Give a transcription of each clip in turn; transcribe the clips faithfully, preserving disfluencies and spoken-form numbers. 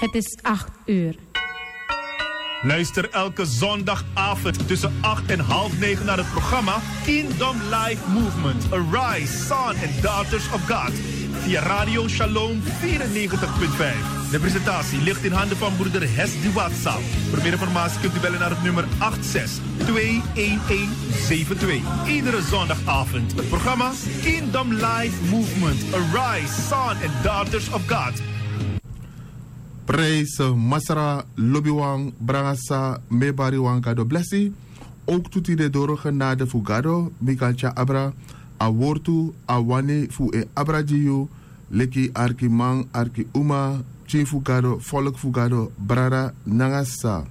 Het is acht uur. Luister elke zondagavond tussen acht en half negen naar het programma Kingdom Life Movement: Arise, Son and Daughters of God, via Radio Shalom vierennegentig punt vijf. De presentatie ligt in handen van broeder Hesdy Watsa. Voor meer informatie kunt u bellen naar het nummer acht zes twee een een zeven twee. Iedere zondagavond het programma Kingdom Life Movement: Arise, Son and Daughters of God. Prijs, eh, Masra, lobiwan, brangasa, mebariwan, Gado blessi. Ook tu tide doro genade fu Gado, mi kan tya abra a wortu, a wani fu e abra gi yu, leki arkiman, arki uma, pikin fu Gado, volk fu Gado, brada nanga sisa.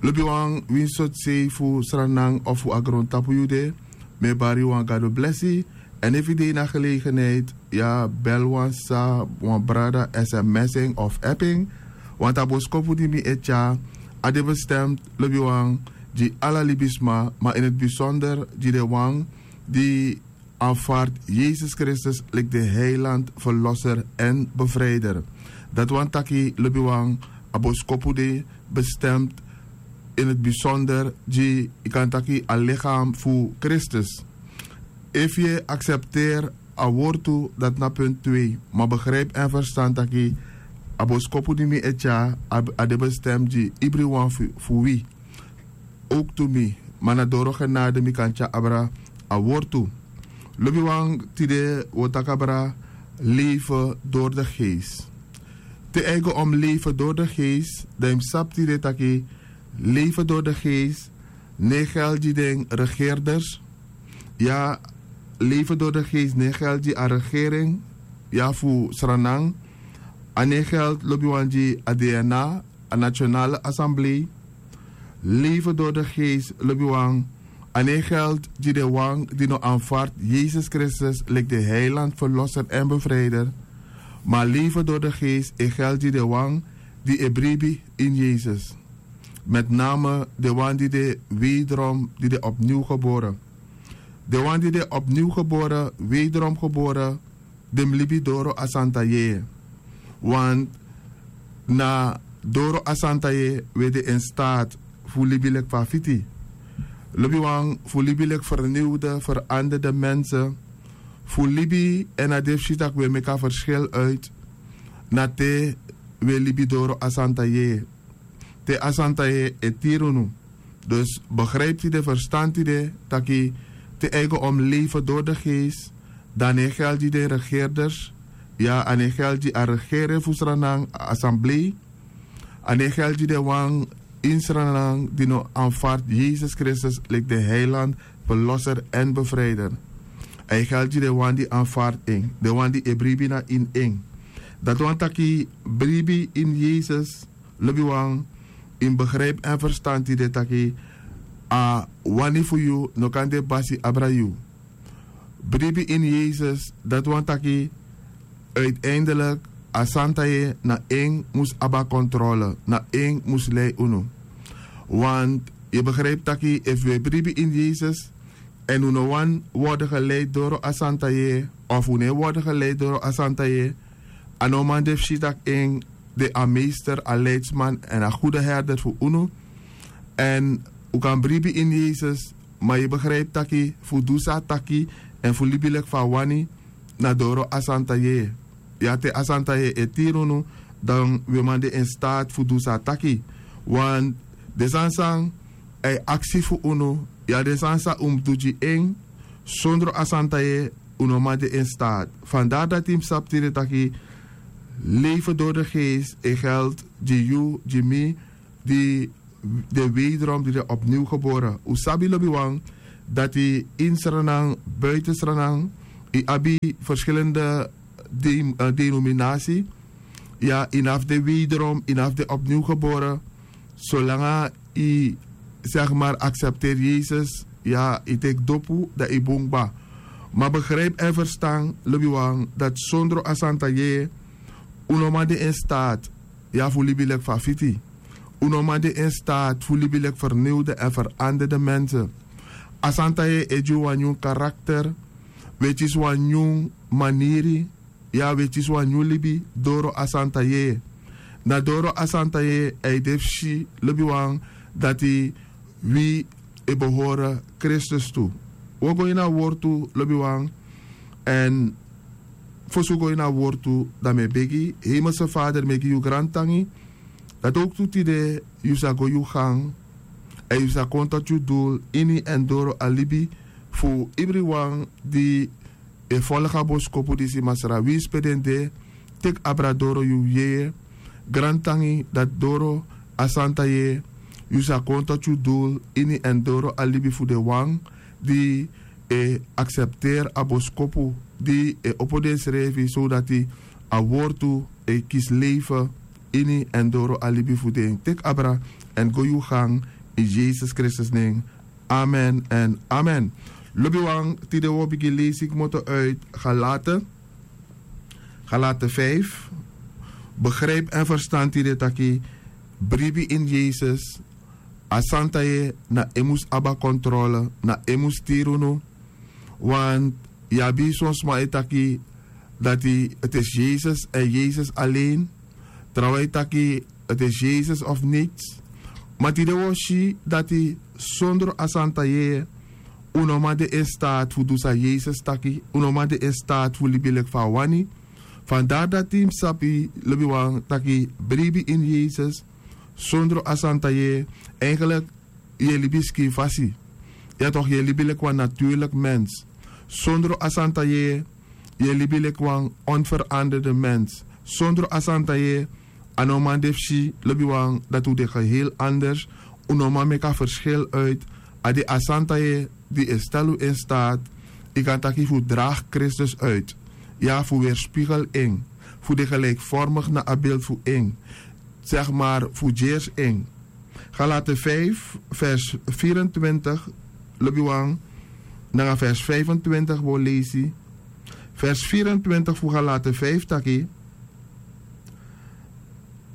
Lobiwan, winsi sortu sei fu Sranan of fu a grontapu yu de, mi e bari yu wan Gado blesi. Èn efu yu de ini a gelegenheid, ya bel wan sisa, wan brada, sms en of app en. Want a boskopu di mi e tyari, a de bestemd, lobiwan, gi ala libisma, ma in het bijzonder gi den wan di aanvaard Yesus Kristus lik de heiland, verlosser en bevrijder. Dati wani taki, lobiwan, a boskopu de bestemd in het bijzonder gi, yu kan taki, a lichaam fu Kristus. Efu yu e aksepteri a wortu, dati na punt twee. Ma begrijp en verstan taki a boskopu di mi e tyari, a, a de bestemd gi ibriwan fu, fu wi. Ook tu mi, ma na doro genade mi kan tyari abra a wortu. Lobiwan, tide wi o taki abra leven door de geest. Te eigen om leven door de geest, dan yu mus sabi tide taki leven door de geest no e geldi gi den regeerders. Ya, leven door de geest no e geldi gi a regering, ya, fu Sranan. A no e geldi, lobiwan, gi a DNA, a Nationale Assemblee. Leven door de geest, lobiwan, a no e geldi gi den wan di no aanvaard Yesus Kristus lik de heiland, verlosser en bevrijder. Ma leven door de geest e geldi gi den wan di e bribi in Yesus. Met name den wan di de wederom, di de opnieuw geboren. Den wan di de opnieuw geboren, wederom geboren, den mus libi doro a santa yeye. Want na doro a santa yeye wi e de in staat fu libi lik fa fiti. Lobiwan, fu libi lik vernieuwde, veranderde mensen. Fu libi èn a de fu si taki wi e meki a verschil uit, na te wi e libi doro a santa yeye. Te a santa yeye e tiri unu. Dus begrijp tide, verstan tide taki te eigen om leven door de geest, dan a no e geldi gi den regeerders. Ya, a no e geldi gi a regering fu Sranan, a assemblee. A no e geldi gi den wan in Sranan di no aanvaard Yesus Kristus lik de heiland, verlosser en bevrijder. A e geldi gi den wan di aanvaard en, den wan di e bribi na ini en. Dati wani taki bribi in Yesus, lobiwan, yu mus begrijp en verstan tide taki a wani fu yu no kan de basi abra yu. Bribi in Yesus, dati wani taki uiteindelijk a santa yeye na en mus abi a controle, na en mus lei unu. Want yu begrijp taki efu wi e bribi in Yesus èn wi no wani worden geleid doro a santa yeye, of wi no e worden geleid doro a santa yeye, a no man de fu si taki en de a meester, a leidsman èn a goede herder fu unu. Èn wi kan bribi in Yesus, ma yu begrijp taki fu du san a taki èn fu libi lik fa a wani, na doro a santa yeye. Ya, te a santa yeye e tiri unu, dan wi man de in staat fu du san a taki. Want den sani san a e aksi fu unu, ya, den sani san un mus du gi en, sondro a santa yeye un no man de in staat. Vandaar dati yu mus sabi tide taki leven door de geest e geldi gi yu, gi mi, di de wederom, di de opnieuw geboren. Un sabi, lobiwan, dati in Sranan, buiten Sranan, yu abi verschillende de-, eh, denominatie. Ya, yu no abi de wederom, yu no abi de opnieuw geboren. Solanga yu, zeg maar, accepteer Yesus, ya, yu teki dopu, dan yu bun kba. Ma begrijp en verstan, lobiwan, dati sondro a santa yeye un no man de in staat, ya, fu libi lik fa fiti. Un no man de in staat fu libi lik vernieuwde en veranderde mensen. A santa yeye e gi wan nyun karakter, wi e kisi wan nyun maniri, ya, wi e kisi wan nyun libi doro a santa yeye. Na doro a santa yeye a e de fu si lobiwan dati wi e behore kristus tu. Wi o go ini a wortu lobiwan. Èn fosi wi go ini a wortu dan mi e begi hemelse fader mi e gi yu grantangi dati owktu tide yu sa go yu gang èn yu sa kon toti yu dul ini èn doro a libi fu ibriwan di e folgu a boskopu disi masra winsi pe den de. Teki abra doro yu yeye. Grantangi dati doro a santa yeye yu sa kon toti yu dul ini èn doro a libi fu den wan di e aksepteri a boskopu di e opo densrefi sodati a wortu e kisi leife ini èn doro a libi fu den. Teki abra èn go yu gang. In yesus kristus nen. Amen èn amen. Lobiwan, tide wi o bigin leisi kmoto uit galate galate vijf. Begrijp en verstan tide taki bribi in yesus a santa yeye na en mus abi a kontrole, na en mus tiri unu. Want yu abi son sma e taki dati ti is yesus èn yesus alen. Trawan e taki ti is yesus of nits. Ma tide wi o si dati sondro a santa yeye un no man de in staat fu du san yesus taki. Un no man de in staat fu libi leki fa a wani. Fandari dati mi sabi lobiwan taki bribi ini yesus sondro a santa yeye. Eigenlik yu e libi skin fasi. Ya tok yu e libi leki wan naturlik mens. Sondro a santa yeye yu e libi leki wan onveranderde mens. Sondro a santa yeye a no man de fu si lobiwan dati un de geheel anders. Un no man meki a verschil uit. A de a santa yeye di e stel un in staat yu kan taki fu dragi kristus uit. Ya fu weerspigel en fu de gelikvormig na a beeld fu en. Zeg maar fu dyers en. Galate vijf vers vierentwintig. Lobiwan nanga vers vijfentwintig wi o leisi. Vers vierentwintig fu galate vijf taki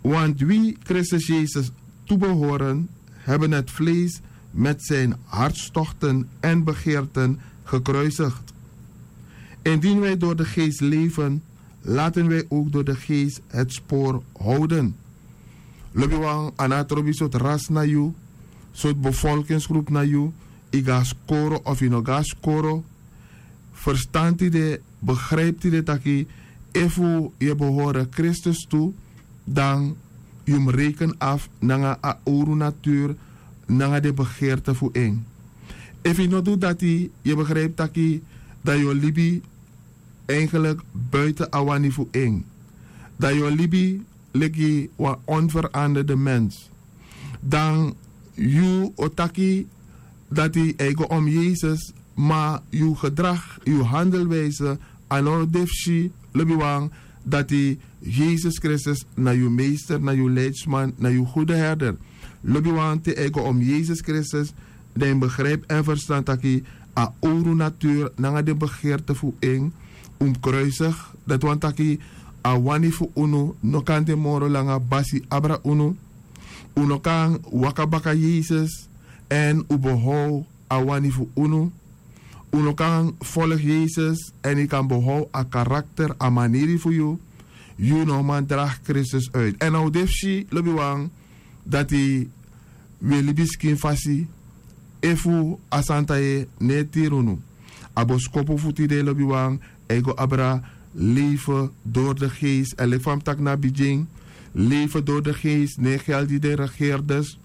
want wi kristus yesus toebehoren hebben het vlees met zijn hartstochten en begeerten gekruisigd. Indien wij door de geest leven, laten wij ook door de geest het spoor houden. Lobiwan a no abi trobi sortu ras na yu, sortu bevolkingsgroep na yu, yu go na skoro of yu no go na skoro. Ferstan tide, begrijp tide taki efu yu e behore kristus tu, dan yu mus reken afu nanga a owru natur nanga den begeerte fu en. Efu yu no du dati yu e begrijp taki dan yu o libi eigenlik buiten a wani fu en. Dan yu o libi leki wan onveranderde mens. Dan yu o taki dati a e go om yesus, ma yu gedrag, yu handelwijse a no de fu si lobiwan dati yesus kristus na yu meester, na yu leidsman, na yu gude herder. Lobiwan te a e go om yesus kristus dan yu mus begrijp en ferstan taki a owru natur nanga den begeerte fu en un mus kruisig. Dati wani taki a wani fu unu no kan de moro langa basi abra unu. Un no kan waka baka yesus èn un behou a wani fu unu. Un no kan folgu yesus èn yu kan behou a karakter, a maniri fu yu. Yu no man dragi kristus uit èn a o de fu si lobiwan dati wi e libi skin fasi efu a santa yeye no e tiri unu. A boskopu fu tide lobiwan a e go abra leven door de geest èn leki fa mi taki na bigin. Leven door de geest no e geldi den regeerders,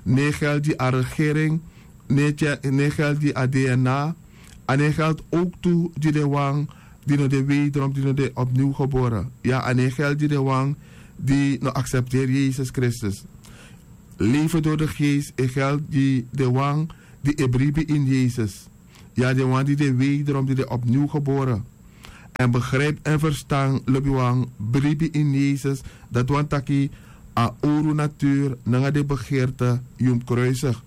no e geldi a regering, no e geldi a dna. A no e geldi owktu gi den wan di no de weidrom, di no de opniw gebore. Ya a no e geldi gi den wan di no aksepteri yesus kristus. Leven door de geest e geldi gi den wan di e bribi ini yesus. Ya den wan di de weidrom, di de opniw gebore. Èn begrijp èn ferstan lobiwan, bribi ini yesus dati wani taki a owru natur nanga den begeerte yu mus kruisig.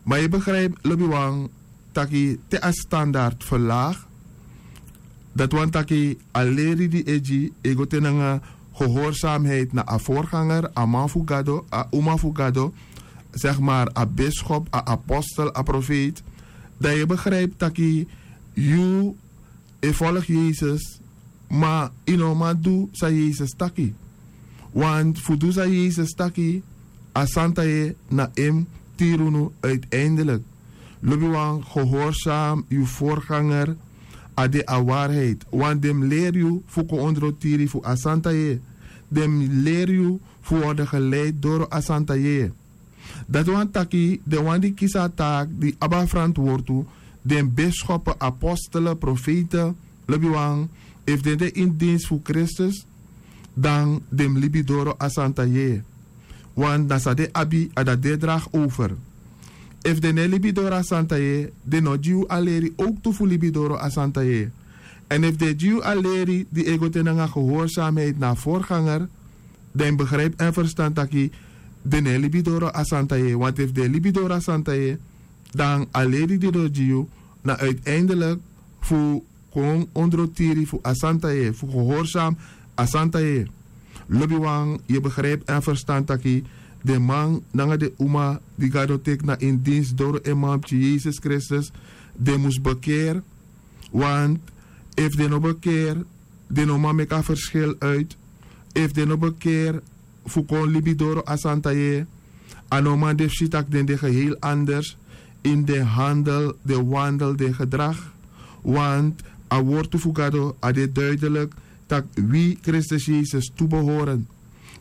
Ma yu begrijp lobiwan taki te a standard verlaag. Dati wani taki a leri di e gi e go te nanga gehoorsamheid na a vorganger, a man fu gado, a uma fu gado, zeg maar a biskop, a apostel, a profeet. Dan yu begrijp taki yu e folgu yesus, ma yu no man du san yesus taki. Want fu du san Yesus taki, a santa yeye na en mus tiri unu uiteindelik. Lobiwan, gehorsam yu vorganger, a de a waarheid. Want den mus leri yu fu kon ondro tiri fu a santa yeye. Den mus leri yu fu worden geleid doro a santa yeye. Dati wani taki den wan di kisi a taaki di abi a ferantwortu, den bischopu, apostelen, profeiten, lobiwan, efu den de ini dinsi fu Kristus, dan den mus libi doro a santa yeye. Want na san den abi, a dati den e dragi over. Efu den no e libi doro a santa yeye, den no gi yu a leri owktu fu libi doro a santa yeye. Èn efu den e gi yu a leri di e go te nanga gehoorsamheid na a vorganger, dan yu mus begrijpi èn ferstan taki den no e libi doro a santa yeye. Want efu den e libi doro a santa yeye, dan a leri di den o gi yu na uiteindelik fu kon ondro tiri fu a santa yeye, fu gehorsam a santa yeye. Lobiwan, yu e begrijpi èn ferstan taki den man nanga den uma di Gado teki na ini dinsi doro en Manpikin Yesus Kristus, den mus bekeri. Want efu den no bekeri, den no man meki a ferskil uit. Efu den no bekeri fu kon libi doro a santa yeye, a no man de fu si tak' den de geheel anders ini den handel, den wandel, den gedrag. Want a wortu fu Gado, a de duidelik tak' wi Kristus Yesus toebehoren.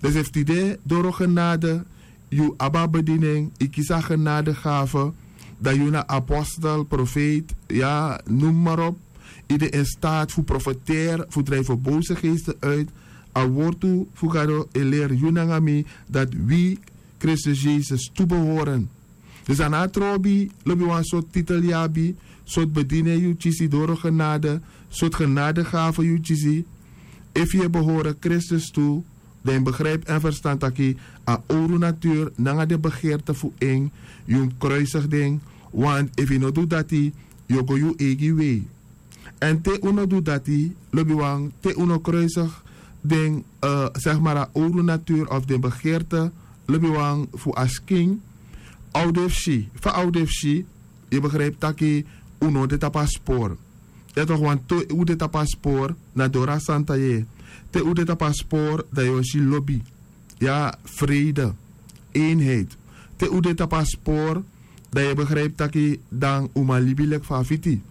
Dus efu tide doro genade yu abi a bediening, yu kisi a genadegave, dan yu na apostel, profeet, ya, noem maar op. Yu de in staat fu profeteri, fu drijven boze geesten uit. A wortu fu Gado e leri yu nanga mi dati wi Kristus Yesus toebehoren. Dus a no abi trobi, lobiwan, sortu titel yu abi, sortu bediening yu kisi doro genade, sortu genadegave yu kisi. Efu yu e behoren Kristus toe, dan yu mus begrijpi èn ferstan taki a owru natuur nanga den begeerte fu en, yu mus kruisigi den. Want efu yu no du dati, yu o go yu eigi wei. Èn te un no du dati, lobiwan, te un no kruisigi den, eh, zeg maar, a owru natuur of den begeerte, lobiwan, fu a skin, a o de fu si. Fa a o de fu si? Yu begrijpi taki un no de tapu a spoor. Ya toch, want te un de tapu a spoor, na doro a santa yeye. Te un de tapu a spoor, dan yu o si lobi, ya, vrede, eenheid. Te un de tapu a spoor, dan yu begrijpi taki dan un man libi leki fa a fiti.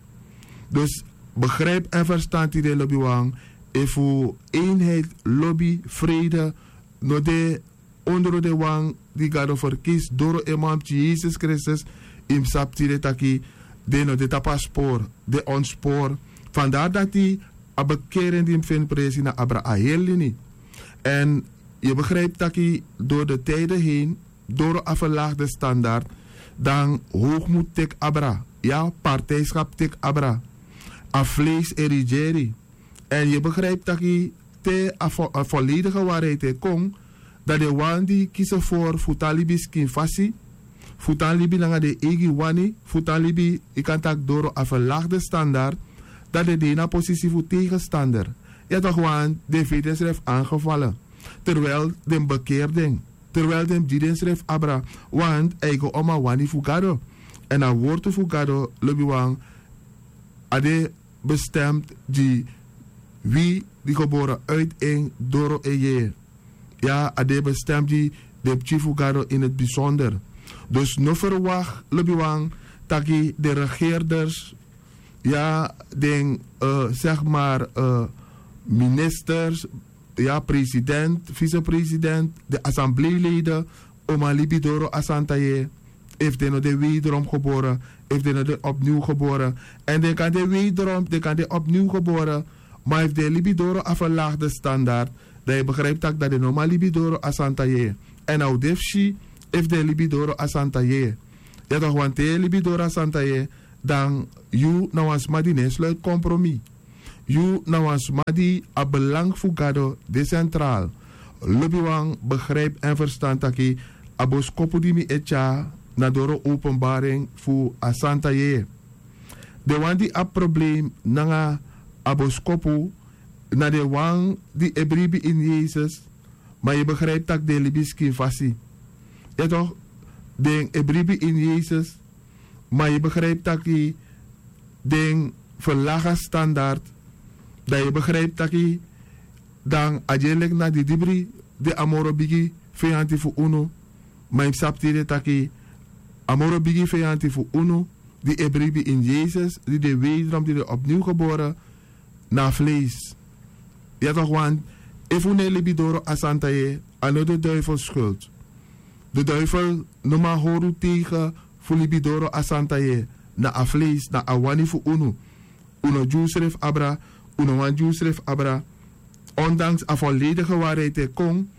Dus begrijpi èn ferstan tide, lobiwan, efu eenheid, lobi, vrede no de ondro den wan di Gado ferkisi doro en Manpikin Yesus Kristus, yu mus sabi tide taki den no de tapu a spoor, den ontspoor. Vandaar dati a bekering di mi feni presi na abra a heri lini. Èn yu begrijpi taki door de tijden heen, doro a verlaagde standaard, dan hoogmoed teki abra, ya, partijschap teki abra, a vlees e regeri. Èn yu begrijpi taki te a vo-, a volledige waarheid e kon, dan den wan di kisi fu, fu tan libi skin fasi, fu tan libi nanga den eigi wani, fu tan libi, yu kan taki, doro a verlaagde standaard, dan den de ini a posisi fu tegenstander. Ya toch, want den feni densrefi aangevalen. Terwijl den mus bekeri den. Terwijl den mus gi densrefi abra. Want a e go om a wani fu Gado. Èn a wortu fu Gado, lobiwan, a de bestemd gi wi di gebore uit en doro en yeye. Ya, a de bestemd gi den pikin fu Gado in het bijzonder. Dus no verwacht, lobiwan, taki den regeerders, ya, den, eh, zeg maar, eh, ministers, ya, president, vicepresident, den assembleeleden, o man libi doro a santa yeye, efu den no de wederom gebore, efu den no de opnieuw gebore. Èn den kan de wederom, den kan de opnieuw gebore, ma efu den libi doro a verlaagde standaard, dan yu begrijpi tak' dan den no man libi doro a santa yeye. Èn a o de fu si efu den libi doro a santa yeye. Ya toch, want te yu e libi doro a santa yeye, dan yu na wan sma di no e sluiti kompromi. Yu na wan sma di a belang fu Gado de sentraal. Lobiwan, begrijpi èn ferstan taki a boskopu di mi e tyari na doro openbaring fu a santa yeye. Den wan di abi probleem nanga a boskopu, na den wan di e bribi ini Yesus, ma yu begrijpi tak' den e libi skin fasi. Ya toch, den e bribi ini Yesus, ma yu begrijpi taki den verlaag a standaard, dan yu begrijpi taki dan a de leki na didibri, de a moro bigi feyanti fu unu. Ma yu mus sabi tide taki a moro bigi feyanti fu unu, di e bribi ini yesus, di de weidrom di de opniw gebore, na a fleisi. Ya tok' wan, efu un no e libi doro a santa yeye, a no de duifel skuld. De duifel no man hori un tegen fu libi doro a santa yeye. Na a fleisi, na a wani fu unu. Un no gi unsrefi abra. Un no wani gi unsrefi abra. Ondanks a volledige waarheid e kon,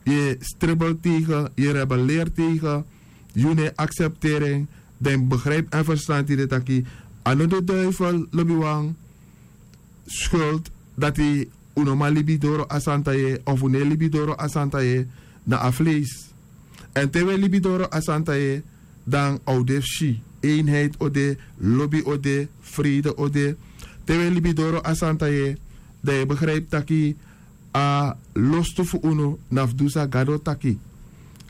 yu e stribel tegen, yu e rebeleri tegen, yu no e aksepteri en. Dan yu mus begrijpi èn ferstan tide taki a no de duifel lobiwan skuld dati un no man libi doro a santa yeye of un no e libi doro a santa yeye. Na a fleisi. Èn te un e libi doro a santa yeye, dan a o de fu si, einheit o de, lobi o de, freide o de. Te un e libi doro a santa yeye, dan yu e begrijpi taki a lostu fu unu na fu du san gado taki.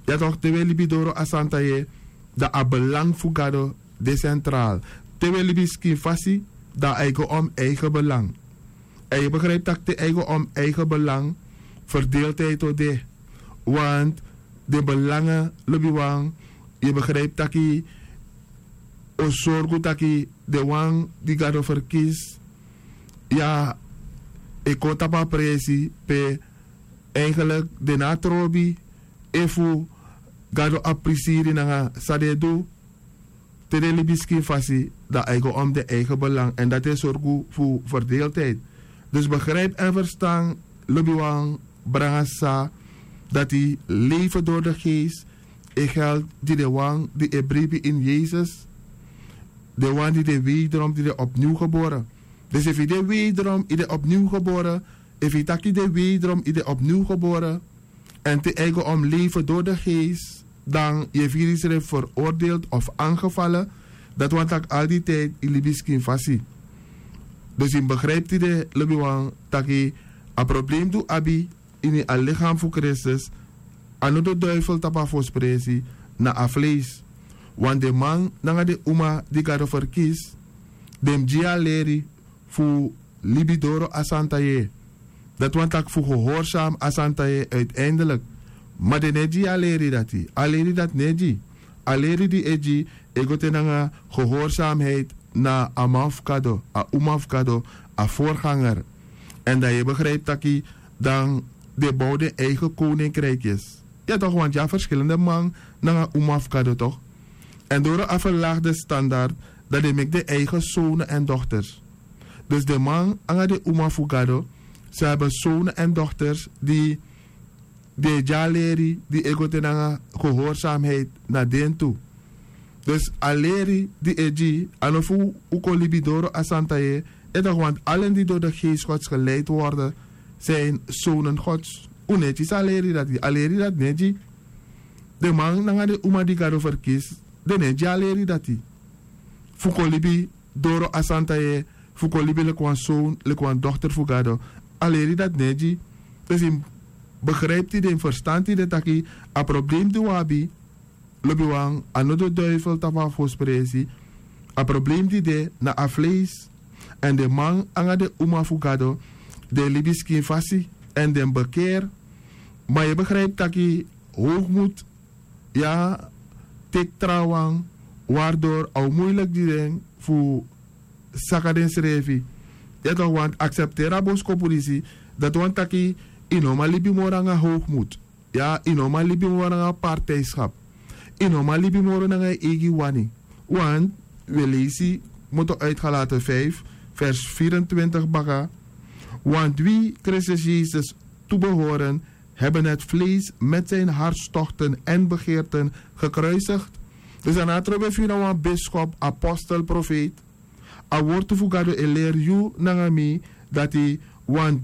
Ya tok', te un e libi doro a santa yeye, dan a belang fu gado de sentral. Te un e libi skin fasi, dan a e go om eigen belang. Èn yu e begrijpi tak' te a e go om eigen belang, ferdeeltheid o de. Want den belangen lobiwan, yu e begrijpi taki o sorgu taki den wan di gado ferkisi, ya, e kon tapu a presi pe eigenlik den no a trobi efu gado abi prisiri nanga san den e du. Te den libi skin fasi, dan a e go om den eigen belang èn dati e sorgu fu ferdeeltheid. Dus begrijpi èn ferstan, lobiwan, branga sisa, dati leven doro de geest e geld gi den wan di e bribi ini yesus. Den wan di de weidrom, di de opniw gebore. Dus efu yu de weidrom, yu de opniw gebore. Efu yu taki de weidrom, yu de opniw gebore, èn te a e go om leven doro de geest, dan yu e firi yusrefi veroordeeld of angefale. Dati wani tak' al di tijd yu libi skin fasi. Dus yu mus begrijpi tide, lobiwan, taki a problem di un abi ini a lichaam fu kristus, a no de duifel tapu a fosi presi, na a fleisi. Want den man nanga den uma di gado ferkisi, den mus gi yu a leri fu libi doro a santa yeye. Dati wani tak' fu gehorsami a santa yeye uiteindelik. Ma den no e gi yu a leri dati. A leri dati no e gi. A leri di e gi, e go te nanga gehorsamheid na a man fu gado, a uma fu gado, a vorganger. Èn dan yu e begrijpi taki dan den bow den eigen koninkrikis. Ya tok', want yu abi ferskilende man nanga uma fu gado tok'. Èn doro a ferlagi den standard, dan den meki den eigen sone èn dokters. Dus den man nanga den uma fu gado, san abi sone èn dokters di den e gi a leri di e go te nanga gehorsamheid na den tu. Dus a leri di e gi, a no fu un kon libi doro a santa yeye. Etok', want alen di doro de geest gods geleid worden, zijn sonen gods. Un no e kisi a leri dati. A leri dati no e gi. Den man nanga den uma di gado ferkisi, den no e gi a leri dati. Fu kon libi doro a santa yeye, fu kon libi leki wan son, leki wan dokter fu gado. A leri dati no e gi. Dus yu mus begrijpi tide, yu mus ferstan tide taki a problem di un abi, lobiwan, a no de duifel tapu a fosi presi. A problem di de na a fleisi. Èn den man nanga den uma fu gado, den e libi skin fasi èn den mus bekeri. Ma yu e begrijpi taki hoogmoed, ya, teki trawan, wardor a o muiliki gi den fu saka densrefi. Ya tok', want aksepteri a boskopu disi, dati wani taki yu no man libi moro nanga hoogmoed. Ya, yu no man libi moro nanga partijskap. Yu no man libi moro nanga yu eigi wani. Want wi e leisi, kmoto uitgelaten vijf, vers vierentwintig baka. Want wie Christus Jezus toebehoren, hebben het vlees met zijn hartstochten en begeerten gekruisigd. Dus a no a trobi efu yu na wan biskop, apostel, profeet. A wortu fu gado e leri yu nanga mi dati, want